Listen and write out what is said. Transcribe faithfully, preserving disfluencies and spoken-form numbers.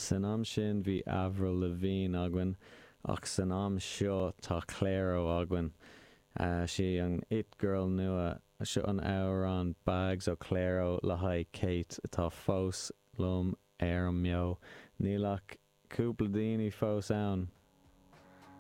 San am sin bhí Avril Lavigne againn ach san am seo tá Clairo againn. Uh, sí an it girl nua seo an amhrán Bags ó Clairo le haghaidh Kate atá fós liom ar an mbeo. Níl ach cúpla daoine fós ann.